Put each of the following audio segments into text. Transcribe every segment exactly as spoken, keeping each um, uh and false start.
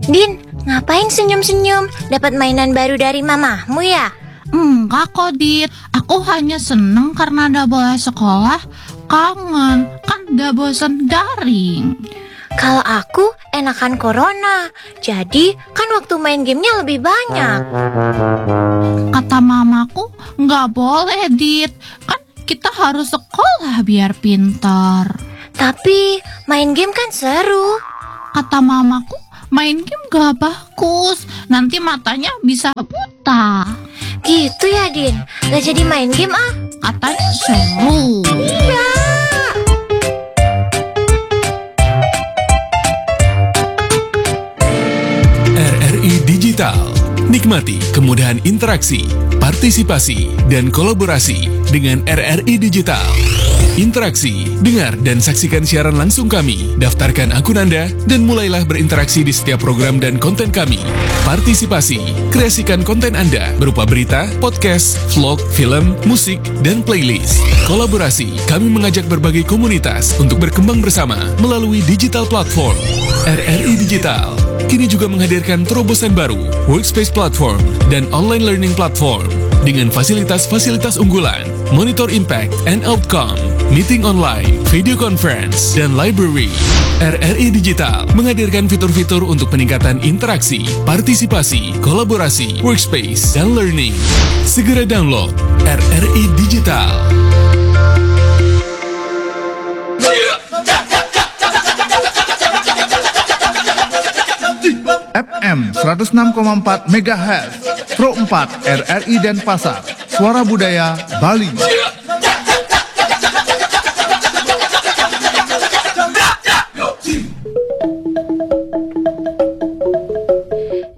Din, ngapain senyum-senyum? Dapat mainan baru dari mamahmu ya? Enggak kok, Dit. Aku hanya seneng karena ada boleh sekolah. Kangen, kan udah bosen daring. Kalau aku enakan corona. Jadi kan waktu main gamenya lebih banyak. Kata mamaku, nggak boleh, Dit. Kan kita harus sekolah biar pintar. Tapi main game kan seru. Kata mamaku, main game gak bagus. Nanti matanya bisa buta. Gitu ya, Din? Gak jadi main game ah. Katanya seru. Iya. R R I Digital. Nikmati kemudahan interaksi, partisipasi, dan kolaborasi dengan R R I Digital. Interaksi, dengar dan saksikan siaran langsung kami. Daftarkan akun Anda dan mulailah berinteraksi di setiap program dan konten kami. Partisipasi, kreasikan konten Anda berupa berita, podcast, vlog, film, musik, dan playlist. Kolaborasi, kami mengajak berbagai komunitas untuk berkembang bersama melalui digital platform. R R I Digital kini juga menghadirkan terobosan baru, Workspace Platform dan Online Learning Platform dengan fasilitas-fasilitas unggulan, monitor impact and outcome, meeting online, video conference, dan library. R R I Digital menghadirkan fitur-fitur untuk peningkatan interaksi, partisipasi, kolaborasi, workspace, dan learning. Segera download R R I Digital. F M seratus enam koma empat megahertz, Pro empat R R I Denpasar, Suara Budaya Bali.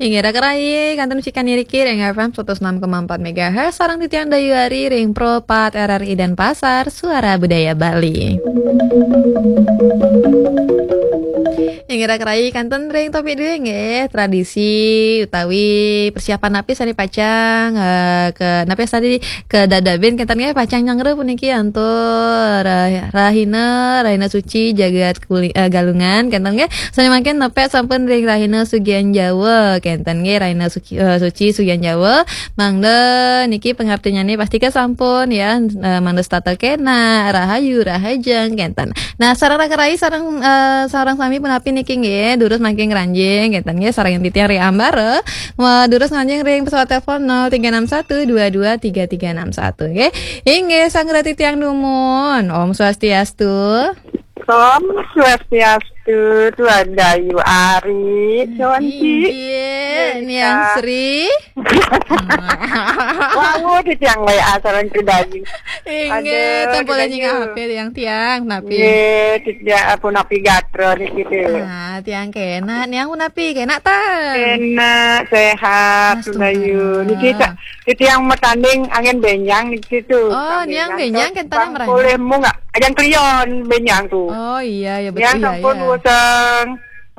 Inggih raka rayi, kantun sikan niriki ring F M seratus enam koma empat megahertz, sareng titiang Dayu Ari ring Pro empat R R I Denpasar, Suara Budaya Bali. Inggih raka rayi, kantun ring topik duwe nggih, tradisi utawi persiapan napi sane pacang, eh, ke napi sane kadadabin kenten nggih, pacang nyanggra puniki antuk rah-, rahina, rahina suci jagat kuli-, eh, Galungan kenten nggih. Sane mangkin nepek sampun ring rahina Sugian Jawa kenten nggih, rahina suci, eh, suci Sugian Jawa. Mangda niki pangartinyane pasti ke sampun ya, eh, mangda setata kena, rahayu, rahajeng kenten. Nah, sareng raka rayi sareng, eh, sareng sami punapi niki nggih, durus mangkin ngranjing kenten nggih, sareng titiang ring ambara. Wah, durus ngranjing ring pesawat telepon nol tiga enam satu dua dua tiga tiga enam satu nggih. Inggih, sanggra titiang dumun. Om Swastiastu. Om Swastiastu, Tuan Dayu Ari, Conci. Inggih, Niang Sri. Wau, titiang W A sareng Tuan Dayu. Inggih, tempole nyingak H P tiang-tiang, napi? Nggih, titiang punapi gatra niki tu. Ah, tiang kena, Niang punapi kena ta? Kena, sehat, Tuan Dayu. Niki titiang matanding angin benjang niki tu. Oh, Niang benjang kenten mrene. Boleh mu enggak? Ajang klion benjang tu. Oh iya, ya betul. Niang sampun wuseng.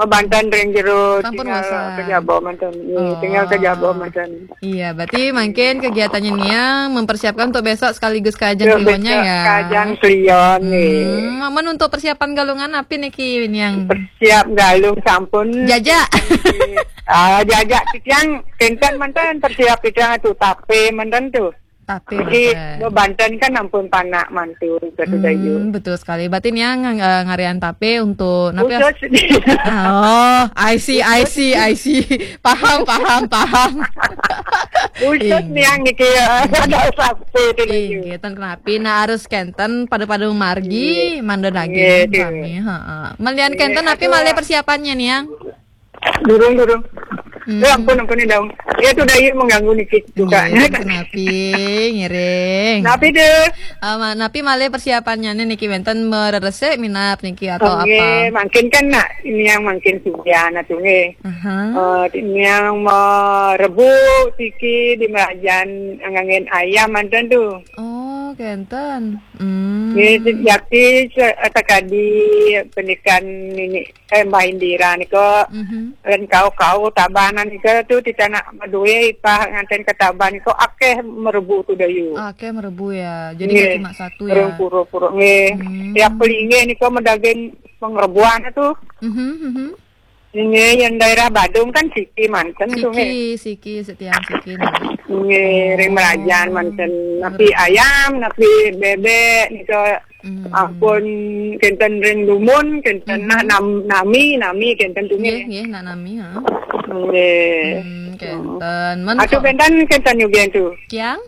Mabanten ring jero, tinggal ke jaba manten. Iya, tinggal ke jaba manten. Iya, berarti mungkin kegiatannya Niang mempersiapkan untuk besok sekaligus ke ajang klionnya ya. Ke ajang klion nih. Hmm, amun untuk persiapan Galungan napi niki Niang? Persiap Galung sampun. Jajak. Ah, jajak titiang kenten manten persiap titiang tu tape manten tu. Tape. Jadi bebanten kan ampun panak mantu kata Dayu. Hmm, betul sekali. Berarti Niang uh, ngarian tape untuk napi? Khusus. Oh, I see, I see, I see. Paham, paham, paham. Khusus Niang niki ya. Ada sapi itu Dayu. Inggih, ten kenapi. Nah, harus kenten pada-pada margi mando daging kami. Heeh. Melian kenten napi malih persiapannya Niang? Durung, durung. Hmm. Eh, ampun, ampun, Daung. Ya, tu Dayu mengganggu niki juga. Iya, napi, ngiring. Napi deh. Uh, napi malih persiapannya nih niki wenten mereresik minap niki atau okay, apa? Mungkin kan nak ini yang mungkin sudah nah tu nggih. Uh-huh. Uh, ini yang merebu tiki di merajan angin ayam mantan tu. Oh, kenten. Hmm. Nggih, jati sekadi pendidikan ini eh, Mbah Indira nika, mm-hmm, lan kau-kau tabanan nika tu titanak madue ipah nganten ke taban nika akeh merebu tu Dayu. Akeh merebu ya. Jadi nggih, cuma satu ya. Rong pura-pura nggih. Hmm. Tiap pelinggih nika medaging pengerebuan tu. Mm-hmm, mm-hmm. Nggih, yang daerah Badung kan siki manten tuh, nggih. Siki, siki, setiang siki, nggih. Nggih, ring Merajan manten. Napi ayam, napi bebek, nika. Hmm. Ampun, kenten ring dumun, kenten. Mhm. Nah, nam-, nami, nami, kenten tuh, nggih, nggih. Nggih, nak nami, ha. Nggih. Hmm, kenten. Men atuh ko- benten, kenten nyugihan tuh. Kiang?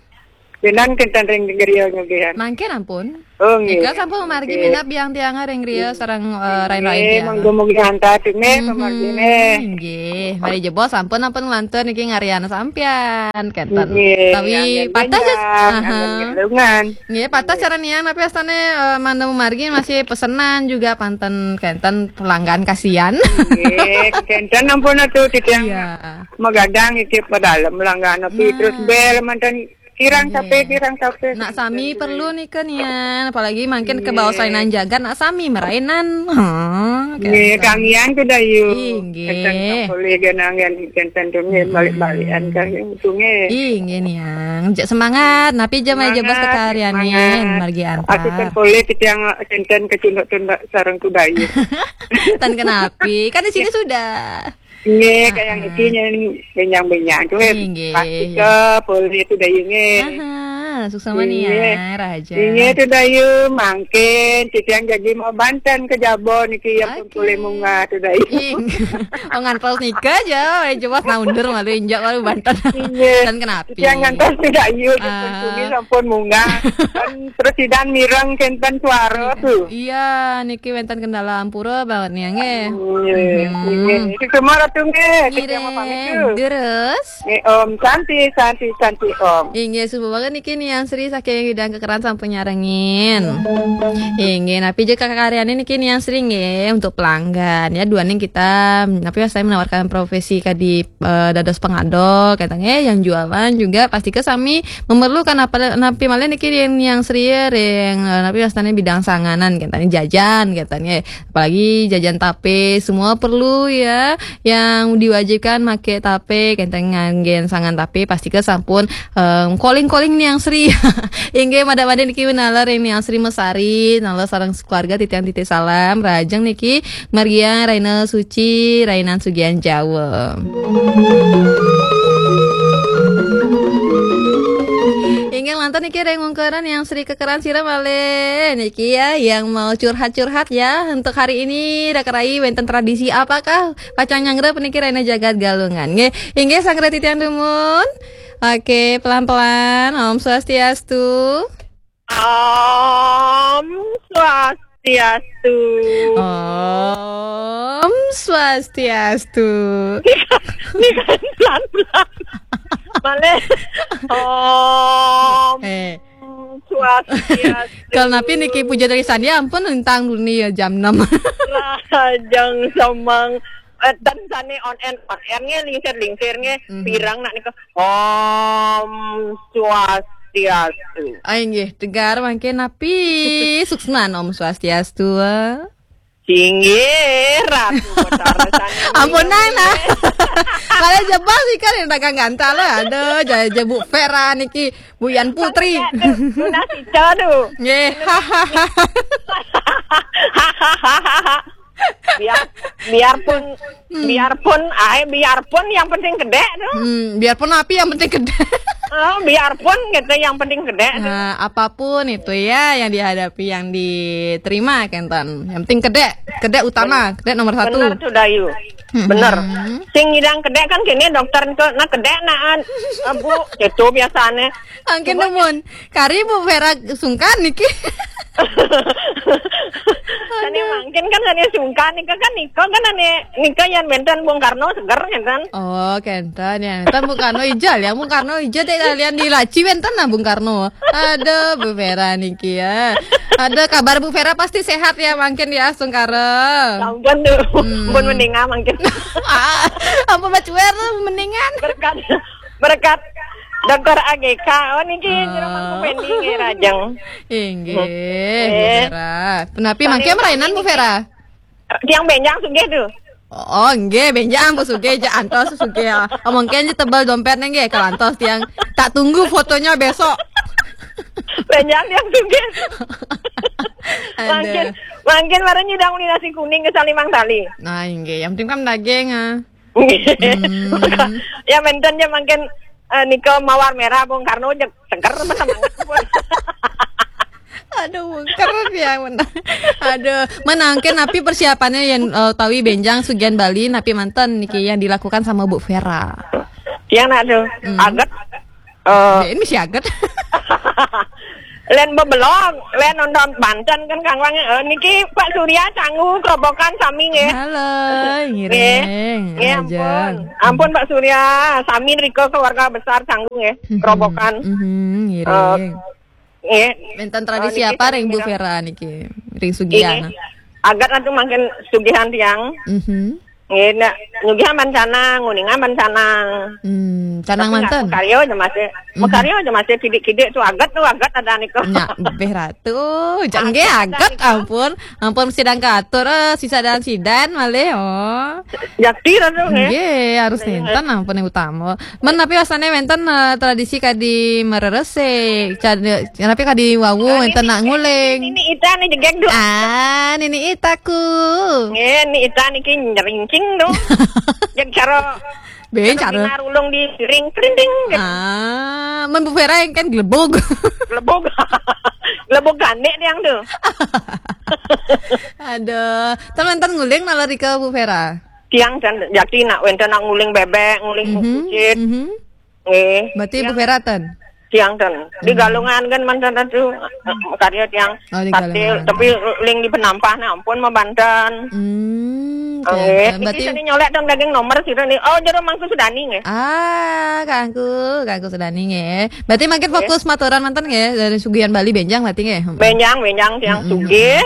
Benten kenten ring griya nyugihan. Mangkin ampun. Oh, nggih. Nika sampun mamargi. Nggih. Minab biang tiang ring griya sareng, eh, rain-rain tiang. Nggih, mangga mugi lancar tuh, nggih, mhm, pamargine. Nggih, mari jebos sampun ampun nglantur niki ngarian sampian, kenten. Nggih, tawi anggen patah, benjang, aha, anggen gelungan. Nggih, patah. Nggih. Cara niang napi astane, eh, mangda mamargi masih pesenan juga panten kenten pelanggan kasihan. Nggih, kenten ampun atuh titiang. Iya. Magadang iki padalem pelanggan napi. Nah. Terus bel manten kirang. Nggih. Tape, kirang tape. Nak sami perlu nika nian, apalagi mangkin. Nggih. Kebaos rainan jagat, nak sami marainan. Ha, nggih, kenten. Kangian tuh Dayu. Inggih. Kenten polih genangan kenten tuh, nggih, mm-mm, balik-balikan kang tuh, nggih. Inggih niang. Jak semangat, napi jam aja bos. Semangat, kekaryanin, semangat. Margi antar. Asukan polih titiang kenten kecunduk-cunduk sareng tuh Dayu. Tan kenapi, kan di sini sudah. Nggih, ah, kayang ah. Iki nyang benjang-benjang tuh, eh, inggih, pasti iya. Ke polih tuh Dayu, nggih. Aha, suksma. Inggih. Niang, Raja. Inggih tuh Dayu, mangkin titiang jagi mau banten ke Jabon niki, ya pun. Oke. Polih munggah tuh Dayu. Ing. Oh, ngantos nika aja, eh, jelas nah undur malu injak malu banten. Inggih. Tan kenapi. Titiang ngantos tuh Dayu, ya pun, ah, polih sampun munggah. Kan terus sidan mireng kenten suara tuh. Iya, niki wenten kendala ampura banget nih, nggih. Nggih, mhm, nggih. Itu semua ratu, nggih. Ngiring. Ketiang pamit tuh. Terus? Nggih, Om. Santi, Santi, Santi, Om. Inggih, subuh banget niki Niang Sri saking Widang Kekeran sampun nyarengin. Inggih, napi je kakaryane niki Niang Sri nggih untuk pelanggan ya. Duaning kita, napi saya menawarkan profesi kadi, eh, dados pengado, katanya yang jualan juga pasti ke sami memerlukan apa, napi malih niki ring Niang Sri ring, eh, napi wastane bidang sanganan, katanya jajan, katanya. Apalagi jajan tape, semua perlu ya, yang diwajibkan make tape, kenten nganggen sangan tape, pasti ke sampun, em, calling-calling Niang Sri. Inggih, madak-madak niki nalar ring Niang Sri Mesari, nalar sareng keluarga titiang titip salam, rajeng niki margiang Raina Suci, Rainan Sugian Jawa. Inggih lantas niki ring ungkaran Niang Sri kekeran sira malih. Niki ya, yang mau curhat-curhat ya, untuk hari ini Raka Rai wenten tradisi apakah pacang nyanggra puniki Raina Jagat Galungan. Nggih, inggih sanggra titiang dumun. Oke, pelan-pelan. Om Swastiastu. Om Swastiastu. Om Swastiastu. Ini kan pelan-pelan. Malih. Om. Eh. Swastiastu. Kalau napi niki puja dari Sandia ampun lintang dulu nih ya jam enam. Rajang semang. Eh, dan sane on air, on air nge, lingsir-lingsir nge, mhm, pirang nak nika. Om Swastiastu. Ai nggih, tegar mangke napi suksman Om Swastiastu. Singgih, Ratu Betara sane. Ampun, nang, nah. Kalau jebak sih kan yang dagang gantal lah. Aduh, jaja Bu Vera niki, Bu Yan Putri. Tunas ica tu. Nggih. Biar, biarpun, hmm, biarpun, ai, biarpun yang penting gede tu. Hmm, biarpun api yang penting gede. Oh, biarpun gitu yang penting gede tu. Nah, apapun itu ya yang dihadapi, yang diterima, kenten. Yang penting gede, gede utama, gede nomor satu. Bener tu, Dayu. Hmm. Bener. Sing ngidang gede kan kene dokter tu, nah gede naan. Eh, Bu, gitu biasane. Angkin. Cuma nemun. Kari Bu Vera sungkan niki. Sane mangkin kan sane sungkan nika kan nika kan ane nika yang benten Bung Karno seger kan. Oh, kenten ya. Kenten Bung Karno ijal ya. Bung Karno ijal dek kalian di laci benten nah Bung Karno. Aduh, Bu Vera niki ya. Ada kabar Bu Vera pasti sehat ya mangkin ya sungkara. Sampun tu. Hmm. Pun mendingan mangkin. Ah, ampun bacuer mendingan. Berkat, berkat Dokter A G K. Oh, niki, ah, jero mangku pending nggih, Rajeng. Inggih, eh, Bu Vera. Punapi mangke marainan, Bu Vera? Tiang benjang sugih tu. Oh, nggih, benjang, Bu, sugih, jak antos sugih. Omongke aja tebal dompetnya nggih, kalau antos tiang tak tunggu fotonya besok. Benjang tiang sugih. Mangkin, mangkin baru nyidang uli nasi kuning ka salimang tali. Nah, inggih. Yang penting kan daging, ah. Ya, menten ja mangkin, eh, nika mawar merah, Bung Karno, ja seger, masa banget pun. Aduh, mungker ya, men. Aduh, menangkin napi persiapannya yang, eh, tawi benjang sugihan Bali, napi manten niki yang dilakukan sama Bu Vera? Yang nak tu, agat. Eh, ini si agat. Len bebelong, len nonton banten kan kangwang, eh, niki Pak Surya Canggu Kerobokan sami nggih. Halo, ngiring. Nggih, ampun. Ampun Pak Surya, sami rika keluarga besar Canggu nggih. Kerobokan. Mhm, ngiring. Eh, nggih. Wenten tradisi apa ring Bu Vera niki? Ring sugihan. Agat atuh mangkin sugihan tiang. Mhm. Nggih, nak nyugihan ban canang, nguningan ban canang. Hmm, canang manten. Makarya aja masih, makarya aja masih kidik-kidik tu agat tu agat ada niku. Nya, beh ratu, cak nggih agat, ampun. Ampun sidang katur, eh, sisa dan sidan malih, oh. Jakti ratu nggih. Nggih, harus nenten ampun yang utama. Men tapi wasane wenten, eh, tradisi kadi mererese, cad-, tapi kadi wau wenten nak nguling. Ini ita nih jegek dulu. Ah, nini itaku. Nggih, ni ita niki nyeringcing tu. Jeg cara ben cara narulung di ring kerinting. Ah, men Bu Vera yang kan gelebog. Gelebog. Gelebog gandek tiang tu. Aduh, ten wenten nguling nalar rika Bu Vera. Tiang ten jakti nak wenten nak nguling bebek, nguling kucit. Mhm. Nggih. Berarti Bu Vera ten? Tiang ten. Di Galungan kan mantan tu, eh, karya tiang. Oh, di Galungan. Tapi ling di Penampah nah ampun mabanten. Hmm, nggih. Berarti ini nyolek tong daging nomor sira ni. Oh, jero Mangku Sudani nggih. Ah, Kangku, Kangku Sudani nggih. Berarti makin fokus maturan manten nggih dari sugihan Bali benjang berarti nggih. Benjang, benjang tiang sugih.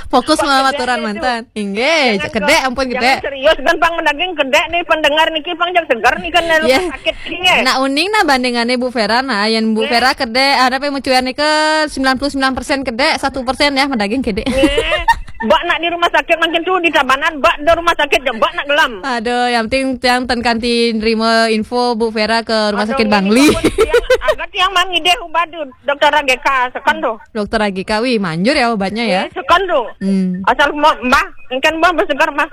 Fokus sama maturan manten. Inggih, kedek ampun kedek. Serius kan pang mendaging kedek nih pendengar niki pang jang seger nih kan rumah sakit niki nggih. Nak uning nah bandingane Bu Vera nah, yang Bu Vera kedek, ada pe mucuan nika sembilan puluh sembilan persen kedek, satu persen ya mendaging kedek. Nggih. Bak nak di rumah sakit mungkin tu di Tabanan, bak di rumah sakit je bak nak gelam. Aduh, yang penting tiang ten kanti nerima info Bu Vera ke rumah sakit Bangli. Agak tiang mang ide ubadu dokter G K sekan tu. Dokter Agika, wih, manjur ya obatnya ya. Eh, sekan tu. Hmm. Asal mau, Mbah, engkan Mbah bersegar, Mbah.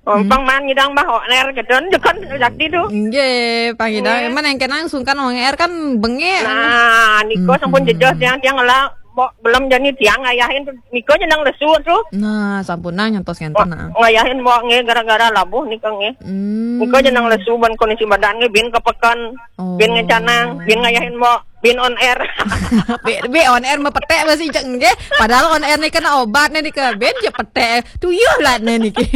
Ompang man ngidang, Mbah, oner gitu, sekan jakti tu. Nggih, pangidang. Emang yang kenang sungkan onger kan bengek. Nah, niko sampun jejos tiang-tiang lah, mbok belum jani tiang ngayahin tu. Niko jenang lesu tu. Nah, sampun nang nyantos ngenten nah. Ngayahin mbok nggih gara-gara labuh niko nggih. Hmm. Niko jenang lesu ban kondisi badan nggih bin kepekan, bin ngecanang, bin ngayahin mbok. Bin on air. Be, be on air mepetek masih cek nggih. Padahal on air ni kena obat ni ke ben je petek. Tuyuh lah ni niki.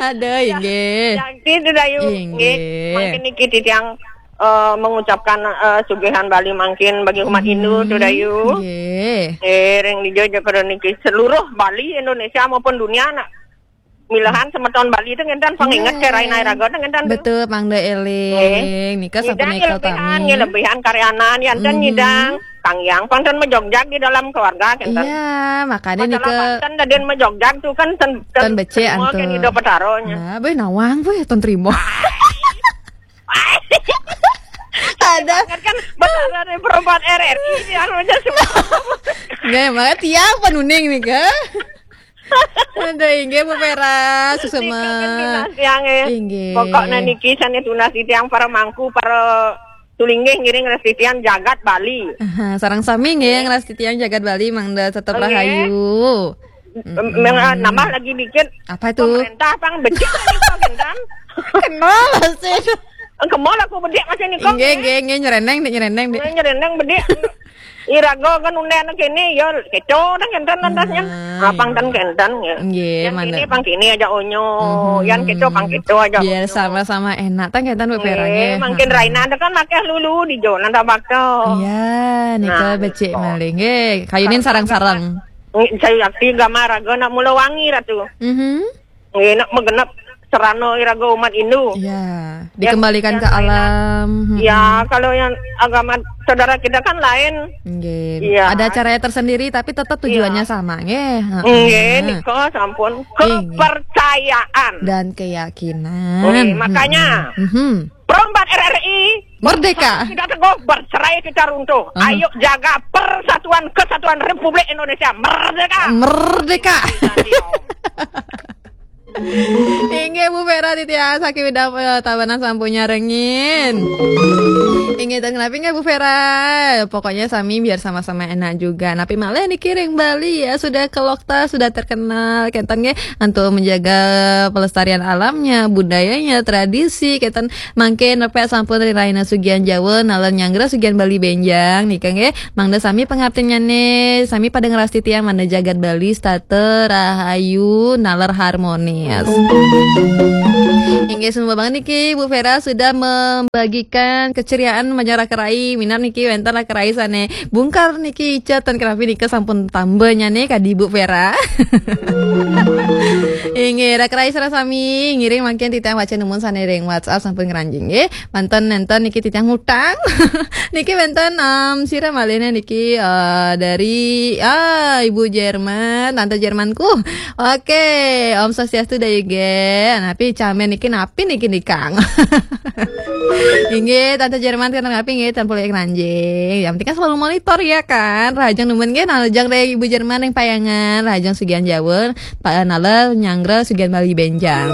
Aduh, inggih. Yang itu Dayu. Inggih. Mungkin niki titiang, eh, mengucapkan, eh, sugihan Bali mungkin bagi umat Hindu tu Dayu. Nggih. Eh, ring di Jojo niki seluruh Bali Indonesia maupun dunia nak milahan semeton Bali tu ngenten pang inget ke raina raga tu ngenten tu. Betul, pang de eling. Nika sampun lebihan, lebihan karyanan, yang ten nyidang, tang yang pang ten mejogjag di dalam keluarga ngenten. Iya, makanya nika. Masalah ten dadin mejogjag tu kan ten, ten becik antu. Kan ido petaronya. Nah, boy nawang, boy, ton terima. Ada. Kan besar dari perempat R R I yang macam semua. Nggih, maka tiang penuning nika. Aduh, inggih Bu Vera, susuma. Tiang eh. Inggih. Pokoknya niki sane tunas tiang para mangku, para tulinggih ngiring restitian jagat Bali. Aha, sarang sami nggih ngrestitian jagat Bali mangda tetep rahayu. Nambah lagi dikit. Apa itu? Pemerintah pang becik lagi pang kan. Kenal sih. Kemol aku bedik macam ni kok. Inggih, inggih, inggih, nyereneng, Dik, nyereneng, Dik. Nyereneng bedik. Iraga kan undang kene ya keco dah kenten lantasnya. Apang ten kenten ya. Nggih, yang mana? Kene pang kene aja onyo. Yang keco pang keco aja. Biar sama-sama enak tang kenten beperang ya. Makin Raina ada kan makai lulu di jo nanda bakto. Iya, nika becik malih. Nggih, kayunin sarang-sarang. Saya yakti gama raga nak mula wangi ratu. Mhm. Nggih, nak megenep serana iraga umat Hindu. Ya, dikembalikan ke alam. Ya, kalau yang agama saudara kita kan lain. Nggih. Ada caranya tersendiri tapi tetap tujuannya sama, nggih. Nggih, nika sampun kepercayaan dan keyakinan. Nggih, makanya Perempat R R I Merdeka. Kita teguh, bercerai kita runtuh. Aha. Ayo jaga persatuan kesatuan Republik Indonesia. Merdeka. Merdeka. Inggih, Bu Vera, titiang saking Widang, eh, Tabanan sampun nyarengin. Inggih, ten kenapi nggih, Bu Vera? Pokoknya sami biar sama-sama enak juga. Napi malih niki ring Bali ya, sudah kelokta, sudah terkenal. Kenten nggih, untuk menjaga pelestarian alamnya, budayanya, tradisi. Kenten mangkin nepek sampun ring rahina sugihan Jawa, naler nyanggra sugihan Bali benjang. Nika nggih, mangda sami pangaptinnyané, sami pada ngrastiti tiang mangda jagat Bali setata rahayu naler harmonis. Inggih, sumba banget niki, Bu Vera sudah membagikan keceriaan majeng raka rai. Minab niki wénten raka rai sané bungkar niki icet, ten kenapi nika sampun tambah nyané kadi Bu Vera. Inggih, raka rai sareng sami ngiring mangkin titiang waca numun sané ring WhatsApp sampun ngranjing nggih. Manten nénten niki titiang ngutang. Niki wénten, em, sira malihné niki, eh, dari, ah, Ibu Jerman, Tante Jermanku. Oke, Om Swastiastu Dayu nggih. Napi camén niki, napi niki nikang? Inggih, Tante Jerman, kenten napi nggih, ten polih ngranjing. Yang penting kan selalu monitor ya kan. Rahajeng numun nggih, nalejang dari Ibu Jerman ring Payangan, rahajeng sugihan Jawa, Pak Naler nyanggra sugihan Bali benjang.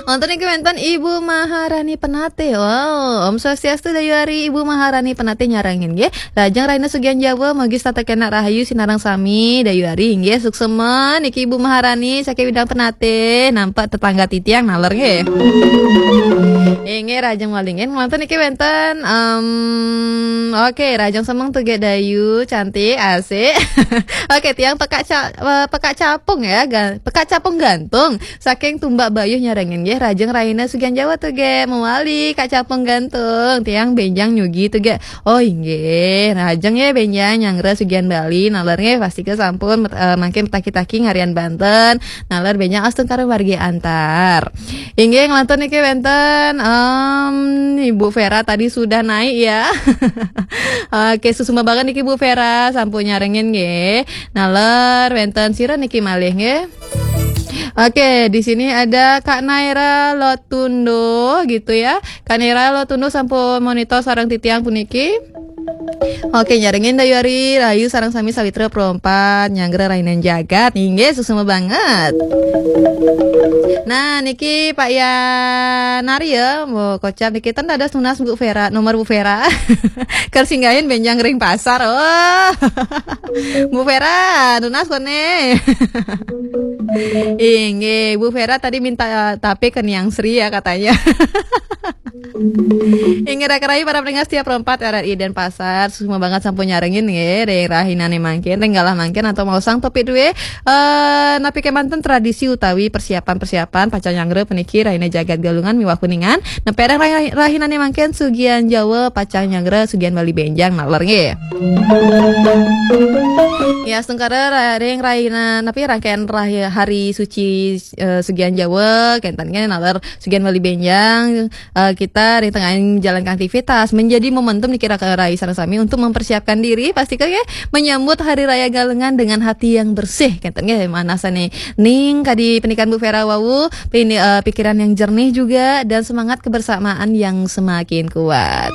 Wonten niki wénten Ibu Maharani Penatih. Wow, Om Swastiastu Dayu Ari, Ibu Maharani Penatih nyarengin nggih. Lajeng rahina sugihan Jawa, mugi setata kenak rahayu sinareng sami Dayu Ari nggih. Suksema niki Ibu Maharani saking Widang Penatih, nampak tetangga titiang naler nggih. Inggih, rahajeng malih nggih. Wonten niki wénten, em, oke, rahajeng semeng tuh nggih Dayu, cantik, asik. Oke, tiang Pekak Ca-, eh, Pekak Capung ya, ga-, Pekak Capung Gantung. Saking Tumbak Bayuh nyarengin nggih, rahajeng rahina sugihan Jawa tuh nggih, mawali Kak Capung Gantung, tiang benjang nyugi tuh nggih. Oh inggih, rahajeng nggih benjang nyanggra sugihan Bali, naler nggih pastika sampun met-, eh, mangkin metaki-taki ngarian banten, naler benjang astungkara wargi antar. Inggih, nglantur niki wénten, em, Ibu Vera tadi sudah naik ya. Oke, suksma banget niki Bu Vera, sampun nyarengin nggih. Naler wénten sira niki malih nggih. Oke, di sini ada Kak Naira Lotundo gitu ya. Kak Naira Lotundo sampun monitor sareng titiang puniki. Oke, nyarengin Dayu Ari, rahayu sareng sami sawitra Pro empat, nyanggra rahinan jagat. Inggih, suksma banget. Nah, niki Pak Yanari ya, mau kocap niki ten dados nunas Bu Vera, nomor Bu Vera. Ker singgahin benjang ring pasar. Oh. Bu Vera, nunas koné. Inggih, Bu Vera tadi minta, eh, tape ke Niang Sri ya katanya. Inggih, raka rai para pendengar setia Pro empat R R I Denpasar, suksma banget sampun nyarengin nggih, ring rahinané mangkin, ring galah mangkin atau mau sang topik duwe, eh, napi kemanten tradisi utawi persiapan-persiapan pacang nyanggra puniki rahina jagat Galungan miwah Kuningan, nepek ring rahi-, rahinané mangkin sugihan Jawa pacang nyanggra sugihan Bali benjang naler nggih. Ya, astungkara ra-, ring rahina, napi rangkaian rahi-, hari suci, eh, sugihan Jawa, kenten nggih naler sugihan Bali benjang, eh, kita ring tengahing jalan aktivitas menjadi momentum niki raka rai sareng sami untuk mempersiapkan diri, pastika nggih menyambut Hari Raya Galungan dengan hati yang bersih. Kenten nggih, manah sané ning kadi pendikan Bu Vera wau, pini-, eh, pikiran yang jernih juga dan semangat kebersamaan yang semakin kuat.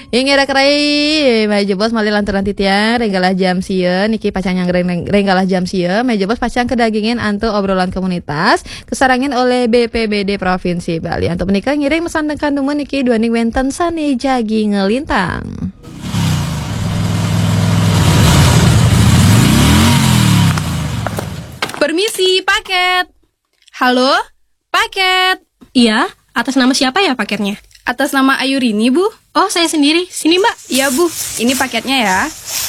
Inggih raka rai, malih jebos malih lanturang titiang, ring galah jam sia, niki pacang nyang ring, ring galah jam sia, malih jebos pacang kadagingin antuk obrolan komunitas, kasarengin olih B P B D Provinsi Bali. Antuk punika ngiring masandekan dumun niki duaning wénten sané jagi nglintang. Permisi, paket. Halo, paket. Iya, atas nama siapa ya paketnya? Atas nama Ayurini, Bu. Oh, saya sendiri. Sini, Mbak. Iya, Bu. Ini paketnya ya.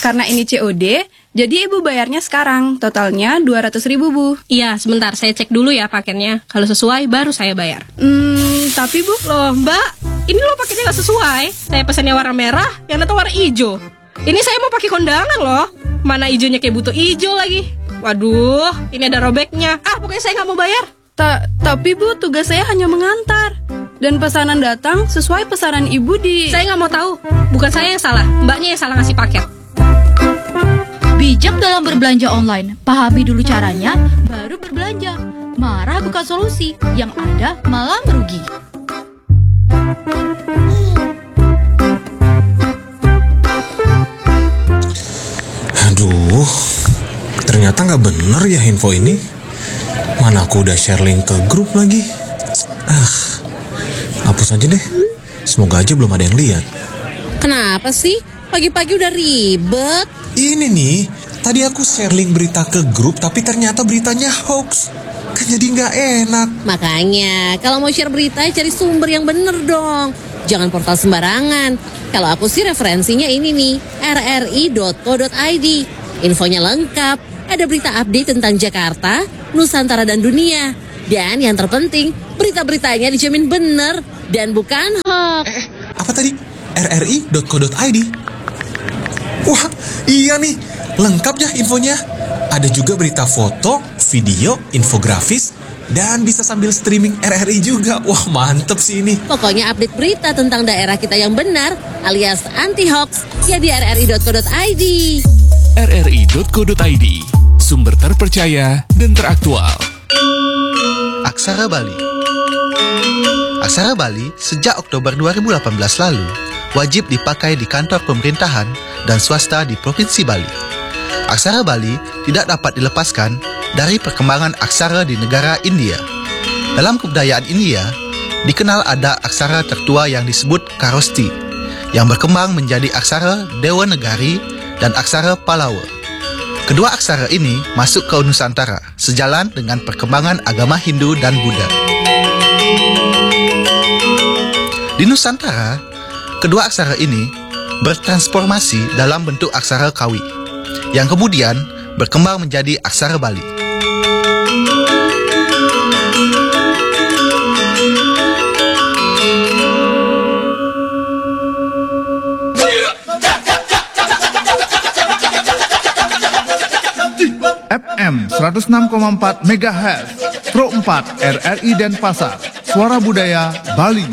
Karena ini C O D, jadi Ibu bayarnya sekarang. Totalnya dua ratus ribu, Bu. Iya, sebentar. Saya cek dulu ya paketnya. Kalau sesuai, baru saya bayar. Hmm, tapi, Bu. Loh, Mbak. Ini loh paketnya nggak sesuai. Saya pesannya warna merah, yang datang warna hijau. Ini saya mau pakai kondangan loh. Mana hijaunya kayak buto hijau lagi. Waduh, ini ada robeknya. Ah, pokoknya saya nggak mau bayar. Ta-, tapi, Bu, tugas saya hanya mengantar. Dan pesanan datang sesuai pesanan Ibu di... Saya nggak mau tahu. Bukan saya yang salah. Mbaknya yang salah ngasih paket. Bijak dalam berbelanja online. Pahami dulu caranya, baru berbelanja. Marah bukan solusi, yang ada malah merugi. Aduh, ternyata nggak bener ya info ini. Mana aku udah share link ke grup lagi. Ah, hapus aja deh. Semoga aja belum ada yang lihat. Kenapa sih? Pagi-pagi udah ribet. Ini nih, tadi aku share link berita ke grup tapi ternyata beritanya hoax. Kan jadi nggak enak. Makanya, kalau mau share berita, cari sumber yang bener dong. Jangan portal sembarangan. Kalau aku sih referensinya ini nih, rri.co.id. Infonya lengkap. Ada berita update tentang Jakarta, Nusantara dan dunia. Dan yang terpenting, berita-beritanya dijamin bener dan bukan hoax. Eh, eh, apa tadi? rri.co.id. Wah, iya nih. Lengkap ya infonya. Ada juga berita foto, video, infografis, dan bisa sambil streaming R R I juga. Wah, mantep sih ini. Pokoknya update berita tentang daerah kita yang benar alias anti hoax ya di rri.co.id. rri.co.id, sumber terpercaya dan teraktual. Aksara Bali. Aksara Bali sejak Oktober dua ribu delapan belas lalu wajib dipakai di kantor pemerintahan dan swasta di Provinsi Bali. Aksara Bali tidak dapat dilepaskan dari perkembangan aksara di negara India. Dalam kebudayaan India, dikenal ada aksara tertua yang disebut Kharoshthi, yang berkembang menjadi aksara Dewanagari dan aksara Pallawa. Kedua aksara ini masuk ke Nusantara sejalan dengan perkembangan agama Hindu dan Buddha. Di Nusantara, kedua aksara ini bertransformasi dalam bentuk aksara Kawi, yang kemudian berkembang menjadi aksara Bali. F M seratus enam koma empat megahertz, Pro empat R R I Denpasar, Suara Budaya Bali.